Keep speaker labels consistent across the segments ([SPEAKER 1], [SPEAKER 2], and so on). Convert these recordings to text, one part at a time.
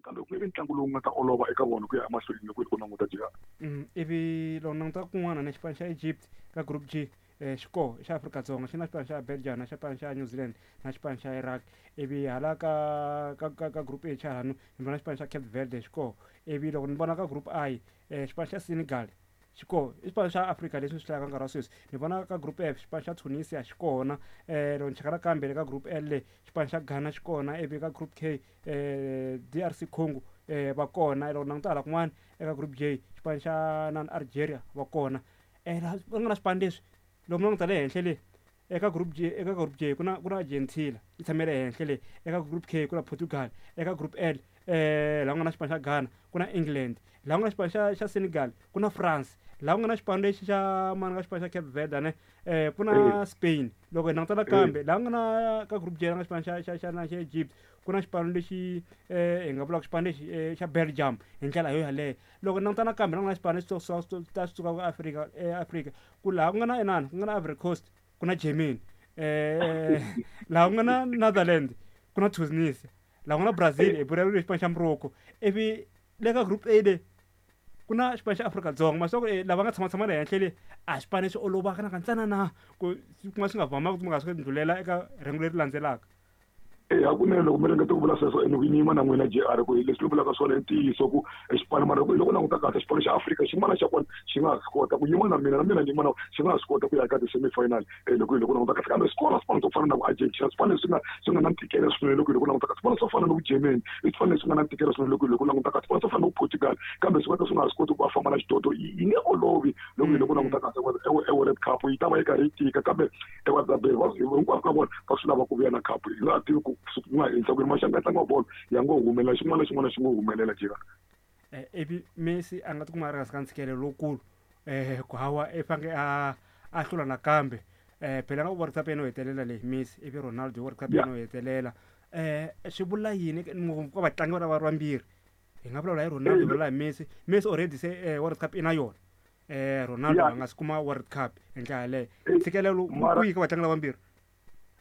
[SPEAKER 1] Kambe ku nge vi ntlangu lowu nga ta olova eka vona ku ya emahlweni loko hi ku languta JR.
[SPEAKER 2] Ivi loko languta kun'wana na xipano xa Egypt ka group G, xi koho xa Afrika-Dzonga, xi na xipano xa Belgium, na xipano xa New Zealand, na xipano xa Iraq. Ivi hala ka group H halano ni vona xipano xa Cape Verde xi koho. Ivi loko ni vona ka group I, xipano xa Senegal xi koho, i xipano xa Afrika leswi ni swi hlayaka nkarhi wa sweswi. Ni vona ka group F xipano xa Tunisia xi kona. Loko ni cheka nakambe le ka group L le, xipano xa Ghana xi kona. Ivi ka group K, DRC Congo va kona. Loko ni languta hala kun'wana eka group J, xipano xa nani, Algeria va kona. Laha ku nga na swipano leswi, loko mi languta le henhla le eka group J, eka group J ku na Argentina yi tshame le henhla le. Eka group K ku na Portugal. Eka group L, laha ku nga na xipano xa Ghana, ku na England. Laha ku nga xipano xa Senegal ku na France. Laha ku nga na xipano lexi xa mani, ka xipano xa Cape Verde ne, ku na Spain. Loko hi languta nakambe laha ku nga na ka group J, la nga xipano xa Egypt, ku na xipano lexi hi nga vulaka xipano lexi xa Belgium hi ndlela yo yaleyo. Loko hi languta nakambe la ku nga na xipano lexi ta swi suka Afrika, Afrika ku laha ku nga na inani, ku nga na Ivory Coast, ku na Germany. Laha ku nga na Netherland ku na Tunisia. Laha ku nga na Brazil, hi vulavula xipano xa Morocco. Ivi le ka group A le ku na xipano xa Afrika-Dzonga. Ma swi tiva ku lava nga tshama tshama le henhla le, a xipano lexi olovaka na kantsana na ku ku nga swi nga vamanga ku nga swi ndlhulela eka rhengu leri landzelaka.
[SPEAKER 1] E hakunene, loko mi ringeta ku vula sweswo, ene ku yima na n'wina JR, ku leswi mi vulaka swona i ntiyiso, ku xipano, mara loko languta kahle xipano xa Afrika xin'wana xa kona xi nga ha swi kota ku yima na mina, na mina ni yima na xi nga ha swi kota ku ya eka ti-semi final, loko languta kahle. Kambe swi kona swipano swo fana na ku Argentina, swipano leswi nga na ntikelo swinene. Loko languta kahle, swipano swo fana na ku Germany i swipano leswi nga na ntikelo swinene. Loko languta kahle, swipano swo fana na ku Portugal, kambe swi nga ka swi nga ha swi koti ku va famba na xidlodlo. Yi nge olovi loko languta kahle e World Cup yi ta va yi karhi yi tika, kambe hinkwavo ka vona va swi lava ku vuya na cup. Hi nga tivi ku ku nga endla ku yini, maxangu ya ntlangu wa bolo ya ngo humelela, xin'wana na xin'wana xi ngo humelela jika.
[SPEAKER 2] Ivi Messi a nga tikuma a ri hansi ka ntshikelelo lowukulu, ku hawa i faneke a hlula nakambe. Phela nga World Cup yena yo hetelela leyi Messi, ivi Ronaldo World Cup yena yo hetelela. Swi vula yini ngopfu ka vatlangi va lava vambirhi? Hi nga vulavula hi Ronaldo, hi vulavula hi Messi. Messi already se World Cup i na yona. Ronaldo a nga si kuma World Cup hi ndlela yaleyo. Ntshikelelo kwihi ka vatlangi lavambirhi?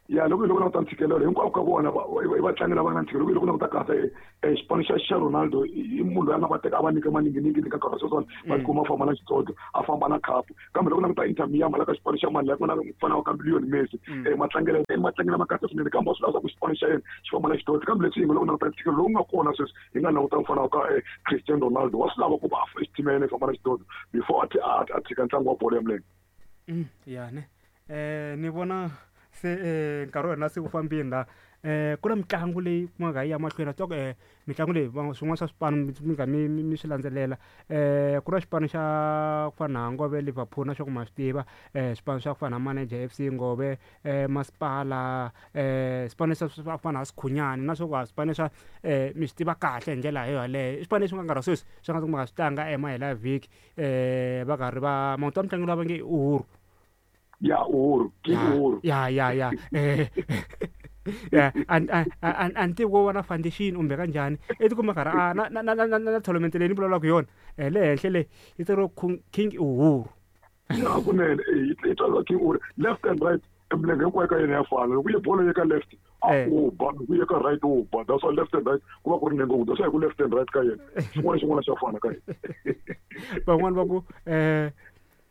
[SPEAKER 1] Ya, loko languta ntshikelelo, hinkwavo ka vona i vatlangi lava nga na ntshikelelo. Loko languta kahle, xipano xa Ronaldo, i munhu loyi a nga va teka a va nyika maninginingini ka nkarhi wa sweswiwani, va tikuma a famba na xidlodlo, a famba na khapu. Kambe loko languta Inter Miami, la ka xipano xa mani, la ku nga na mufana wa ka Lionel Messi, matlangelo i matlangelo ma kahle swinene, kambe wa swi lava ku xipano xa yena xi famba na xidlodlo. Kambe leswi hi nga loko languta ntshikelelo lowu nga kona sweswi, hi nga languta mufana wa ka Cristiano Ronaldo, wa swi lava ku va team ya yena yi famba na xidlodlo before a tshika ntlangu wa bolo ya milenge.
[SPEAKER 2] Ya ne, ni vona se nkarhi wa hina se wu fambini la. Ku na mitlangu leyi kumaka yi ya mahlweni, swi tiva ku mitlangu leyi swin'wana swa swipano mi nga mi swi landzelela. Ku na xipano xa ku fana na Ngove Liverpool, na swa ku ma swi tiva, swipano swa ku fana na Manager FC Ngove, masipala, swipano swa ku fana na Sikhunyani, na swo ku swipano swa mi swi tiva kahle hi ndlela yo yaleyo. I swipano leswi nga nkarhi wa sweswi swi nga kumaka swi tlanga emahelo ya vhiki, va karhi va mavito ya mutlangi loyi va nge Uhuru.
[SPEAKER 1] Ya, Uhuru King. Uhuru.
[SPEAKER 2] Ya, a ni tivi ko va na foundation kumbe kanjhani, i tikuma karhi a na tournament leyi ni vulavulaka hi yona, le henhla le yi tsariwe King Uhuru.
[SPEAKER 1] Ya, hakunene yi tsariwa King Uhuru left and right, milenge hinkwayo ka yena ya fana. Loko ye bolo ye ka left a u ba, loko ye ka right u ba. That's why left and right ku va ku ri nenge wu, that's why ku left and right ka yena, xin'wana na xin'wana xa fana ka yena.
[SPEAKER 2] Van'wani va ku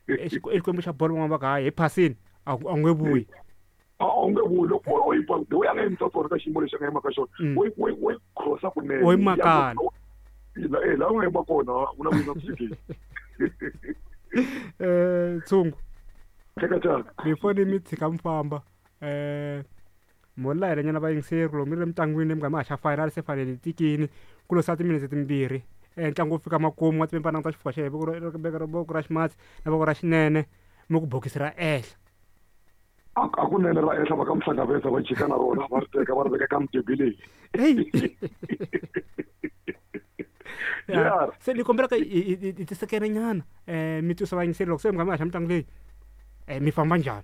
[SPEAKER 2] i xikwembu xa bolo, van'wani va ku hayi, hi phasini a nge vuyi.
[SPEAKER 1] A wu nge vuyi loko u yi ba the way a nga yimisa swona ka xiyimo lexi a nga yima ka xona. Wo yi crossa kunene.
[SPEAKER 2] Wo yi makala.
[SPEAKER 1] Laha u nga yima kona u na ku yi nga kufikeli.
[SPEAKER 2] Tshungu.
[SPEAKER 1] Teka tshaka.
[SPEAKER 2] Before ni mi tshika mi famba, mo layela nyana vayingiseri, loko mi ri emitlangwini mi nga mi haxa final, se fanele yi tikini, ku lo sala timinetse timbirhi ntlangu wu fika makumu, wa tiva languta xifuva xa yena, voko ra ximatsi na voko ra xinene, mi ku bokisi ra ehla.
[SPEAKER 1] Hakunene ra ehla, va ka muhlangaveza va jika na rona, va ri teka va ri veka ka mudebe leyi.
[SPEAKER 2] Ya, se ni kombela ka hi tisekele nyana, mi twisa vayingiseri loko se mi nga mi haxa mitlangu leyi, mi famba njhani.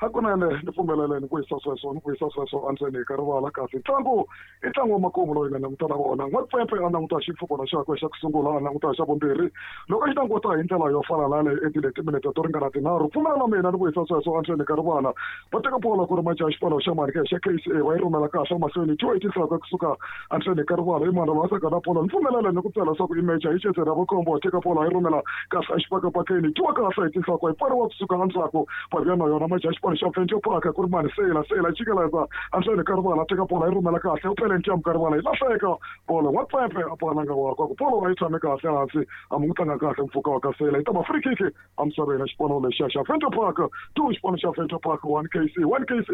[SPEAKER 1] Hakunene ni pfumeleleni ku yisa sweswo, ni ku yisa sweswo endzeni ka rivala. Kasi ntlangu i ntlangu wa makumu loyi nga languta na wona. N'wapfempe a languta xipfukwana xakwe xa ku sungula, a languta xa vumbirhi. Loko a xi languta hi ndlela yo fana na yaleyo, endlile timinete to ringana 3. Pfumela na mina ni ku yisa sweswo endzeni ka rivala. Va teka bola ku ri majaha xipano xa mani ke xa KCA, va yi rhumela kahle emahlweni. Two eighty nhloko kusuka endzeni ka rivala, i mani va saka na bola. Ni pfumelele ni ku byela leswaku i meja yi cedzela vukhombo. Teka bola yi rhumela kahle exipakapakeni, twiwa kahle hi tinhloko, yi pfariwa kusuka endzhaku. Va vuya na yona majaha xipano xa Venture Park, ku ri mani Seyila. Seyila jikeleza endzeni ka rivala, teka bola yi rhumela kahle, u pele ntiyamu ka rivala, yi lahleka bolo. N'wapfempe a balanga wakwe ku bolo a yi tshame kahle hansi, a mu n'wi tlanga kahle mpfhuka wa ka Seyila. Yi ta va free kick emisaveni ya xipano lexiya xa Venture Park. 2 xipano xa Venture Park 1 KC, 1 KC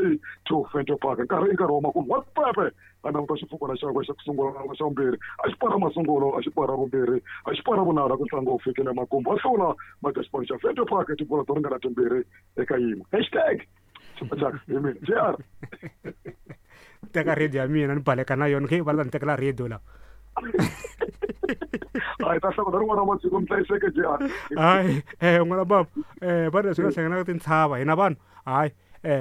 [SPEAKER 1] 2 Venture Park. Nkarhi i nkarhi wa makumu. N'wapfempe a languta xipfukwana xakwe xa ku sungula na xa vumbirhi, a xi para masungulo, a xi para vumbirhi, a xi para vunharhu, ku ntlangu wu fikile makumu. Va hlula maja xipano xa Venture Park tibola to ringana 2-1. Hashtag Chaka hi mina JR.
[SPEAKER 2] Teka radio ya mina ni baleka na yona, khe va ta ni tekela radio la.
[SPEAKER 1] Hayi, ta hlakula rin'wana ra masiku, mi hlayiseke JR.
[SPEAKER 2] Hayi, n'wana baba, va leswi nga hlanganaka tintshava hina vanhu, hayi,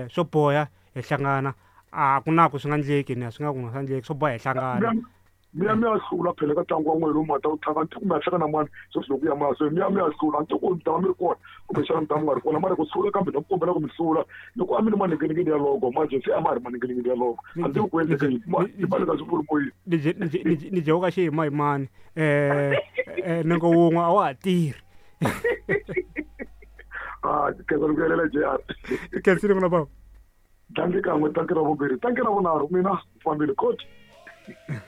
[SPEAKER 2] swo boha hi hlangana. A ku na ku swi nga ndleki ni swi nga ku nga ndleki, swo boha hi hlangana.
[SPEAKER 1] Mi ya mi ya hlula phela ka ntlangu wa n'wina lowu ma ta wu tlanga, ni ku mi ya hlangana mani sweswi loko ya mahlweni. Mi ya mi ya hlula, ni ku mi ta va mi ri kona kumbexana mi ta mi nga ri kona, mara ku hlula kambe na ku kombela ku mi hlula. Loko a mi ri maninginingini ya logo, manje se a ma ha ri maninginingini ya logo, a ndzi ku endleke yini ni fanele swi vuri moyeni.
[SPEAKER 2] Ni jewuka xiyimayimani, nenge wun'we a wa ha tirhi.
[SPEAKER 1] A khensa ni ku yelela JR.
[SPEAKER 2] Khensile n'wana baba.
[SPEAKER 1] Tlangi kan'we, tlangi ra vumbirhi, tlangi ra vunharhu, mina fambile coach.